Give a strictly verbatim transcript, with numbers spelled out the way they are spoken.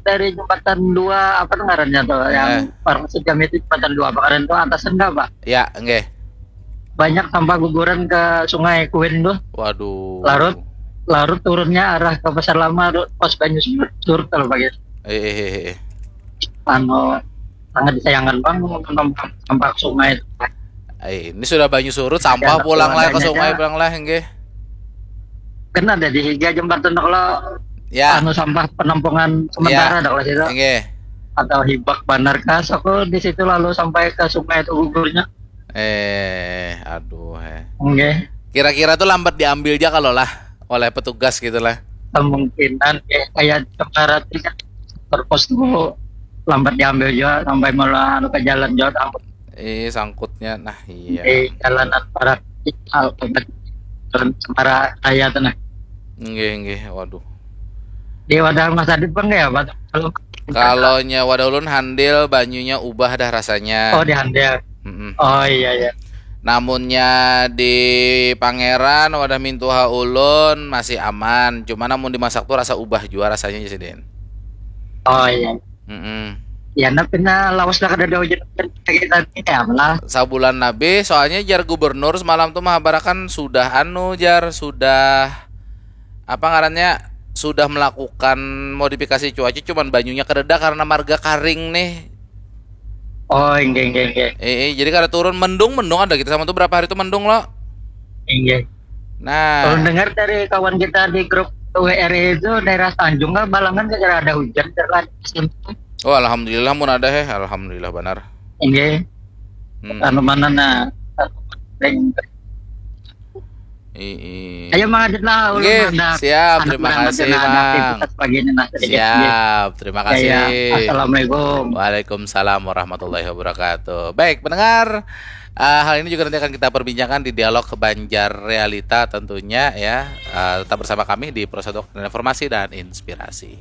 dari jembatan dua, apa tuh ngarannya tuh, yang Eh. orang sejam itu jembatan dua apa ngaran tuh, atasan nggak, Pak? Ya, nggih. Banyak sampah guguran ke sungai Kuin tuh. Waduh. Larut, larut turunnya arah ke Pasar Lama tuh, pas banyu surut, surut kalau pakai. Eh, eh, eh, eh. Anu, sangat disayangkan, Bang, sampah, sampah ke sungai. Eh, ini sudah banyu surut, sampah Ada pulang lah ke wadahnya sungai, aja. Pulang lah, nggih. Kan ada di higa jembatan kalau Ya, anu sampah penampungan sementara Ya. ada kalau situ. Nggih. Atau hibak banar kas aku di situ lalu sampai ke sungai itu gugurnya. Eh, aduh, eh. Nggih. Kira-kira tuh lambat diambil aja kalau lah oleh petugas gitu lah. Kemungkinan ya, kayak kemarin kan terpos tuh lambat diambil juga sampai malah anu ke jalan juga. Eh, sangkutnya, nah iya. Di jalanan barat, jalan Semarang Raya tuh, nah. Nggih, nggih, waduh. Di wadah Mas Adit, Bang, ya, Pak? Kalau Kalau nya wadah ulun handil, banyunya ubah dah rasanya. Oh, di handil. Mm-mm. Oh, iya, iya. Namunnya di Pangeran, wadah mintuha ulun masih aman. Cuma namun dimasak tuh rasa ubah jua rasanya, Sidin. Oh, iya. Mm-mm. Ya, nah, pina lawas lah kada ada hujan lagi tadi ya, malah. Sabulan lebih, soalnya jar gubernur semalam tuh mahabarakan sudah anu, jar, sudah, apa ngarannya, sudah melakukan modifikasi cuaca, cuman banyunya kadada karena marga karing nih. Oh, inggih, inggih, inggih. Eh, eh, jadi kada turun, mendung, mendung ada gitu sama tuh berapa hari tuh mendung lo. Inggih. Nah, Kalau dengar dari kawan kita di grup W R I itu, daerah Tanjung kan Balangan kira ada hujan, kira ada musim. Oh, alhamdulillah mun ada, heh, alhamdulillah banar. Inggih. Hmm. Anu mana, nah? Ii. Ayo, Mang Adit lah, ulun Nggih, handak, siap, handak terima berangkat kasih, dulu, ada Mang. Aktivitas pagi ini, nah, sedikit. Siap, terima Ya, ya. kasih. Assalamualaikum. Waalaikumsalam warahmatullahi wabarakatuh. Baik, pendengar, eh, hal ini juga nanti akan kita perbincangkan di dialog Banjar Realita tentunya ya. Eh, tetap bersama kami di Pro satu, Informasi dan Inspirasi.